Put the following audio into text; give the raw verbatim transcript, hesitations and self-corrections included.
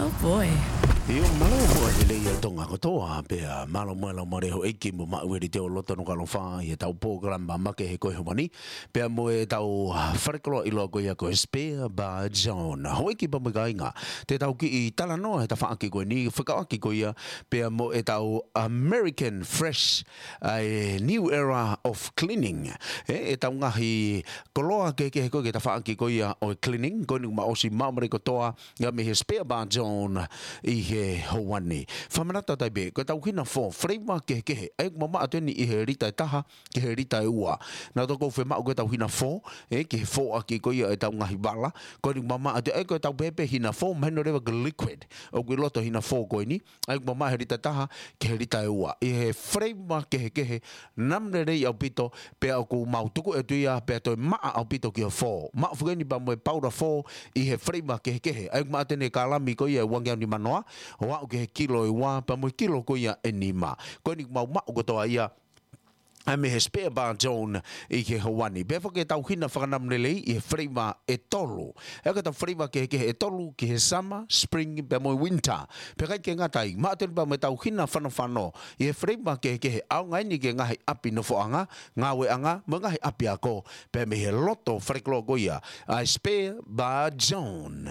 Oh boy. ʻIo, mālō muʻa lelei ʻa Tonga kotoa, pea mālō muʻa e laumālie ʻo e ʻEiki mo Maʻueli Teoloto Nukuʻalofa ʻi heʻetau polokalama makehe ko e ʻaho ni, pea mo ʻetau, ah, falekoloa ʻiloa ko ia ko e Spare Bar John. Houʻeiki pea mo e kāinga, te tau kiʻi talanoa he tafaʻaki ko eni, fekauʻaki ko ia pea mo ʻetau American Fresh, ʻa e New Era of Cleaning. ʻE, ʻetau ngaahi koloa kehekehe ko ē ki he tafaʻaki ko ia ʻo e cleaning, ko eni kuo mau ʻosi maʻu mai kotoa ia mei he Spare Bar John ʻi he houa ni. Fakamanatu atu ai pē, ko ʻetau hina fō, flavor kehekehe, ʻa ia ʻoku mamaʻo atu eni ʻi he lita ʻe taha ki he lita ʻe ua. Naʻa tau kou fiemaʻu ko ʻetau hina fō, ʻe, ki he fōʻaki ko ia ʻetau ngaahi vala, ko eni kuo mamaʻo atu, ʻa ia ko ʻetau pehē pē hina fō, mahino leva ko e liquid ʻoku ʻi loto hina fō ko eni, ʻa ia ʻoku mamaʻo he lita ʻe taha ki he lita ʻe ua. ʻI he flavor kehekehe, namu lelei ʻaupito, pea ʻoku mau tuku atu ia, pea toe maʻa ʻaupito ki he fō. Maʻu foki eni pea mo e paula fō ʻi he flavor kehekehe. ʻA ia ʻoku maʻu atu eni e kalami ko ia ʻe uangeau nimanoa, ʻo aʻu ki he kilo ʻe ua, pea mo e kilo ko ia ʻe nima. Ko eni ʻoku mau maʻu kotoa ia, ʻa ia mei he Spare Bar John ʻi he houa ni. Pea foki ʻetau hina fakanamu lelei ʻi he flavor ʻe tolu. ʻA ia ko ʻetau flavor kehekehe ʻe tolu ki he summer, spring, pea mo e winter. Pea ʻikai ke ngata ai, maʻu atu eni pea mo ʻetau hina fanofano ʻi he flavor kehekehe, ʻaonga eni ki he ngaahi ʻapi nofoʻanga, ngāueʻanga, mo e ngaahi ʻapiako, pea mei he loto falekoloa ko ia ʻa e Spare Bar John.